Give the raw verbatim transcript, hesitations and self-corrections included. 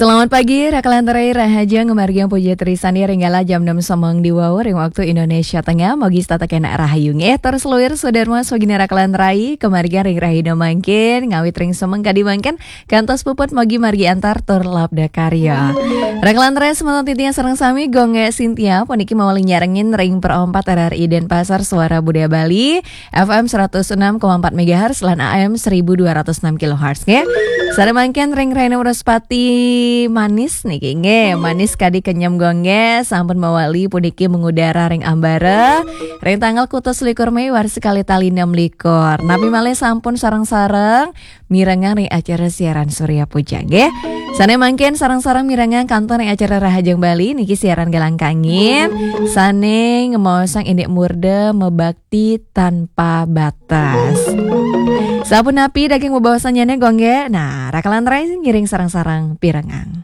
Selamat pagi, Rakalan Rai. Rahajeng ngamargiang puja trisandi ring galah jam enam semeng di wau ring waktu Indonesia Tengah. Mogi setata kena rahayu nggih. Terus luir Sudarma Swagina Rakalan Rai, kemargiang ring rahina mangkin, ngawit ring semeng kadi mangkin, kantos puput mogi margi antar tur labda karya. Rakalan Rai semeton titiang sareng sami, Gung Sintia, puniki mawali nyarengin ring Pro empat R R I Denpasar Suara Budaya Bali, F M seratus enam koma empat megahertz lan A M seribu dua ratus enam kilohertz nggih. Sare mangkin ring Rahina Wraspati manis niki nggih, manis kadi kenyem Gung nggih, sampun mawali puniki mengudara ring ambara ring tanggal kutus likur Mei warsa kalih tali enam likur. Napi malih sampun sareng-sareng mirengang ring acara siaran Surya Puja nggih. Sane mangkin sareng-sareng mirengang kantun ring acara Rahajeng Bali niki siaran galang kangin sane ngemaosang indik murda mebak ti tanpa batas. Sapunapi daging bebaosannyane Gung nggih? Nah, Rakalan Rai ngiring sareng-sareng pirengang.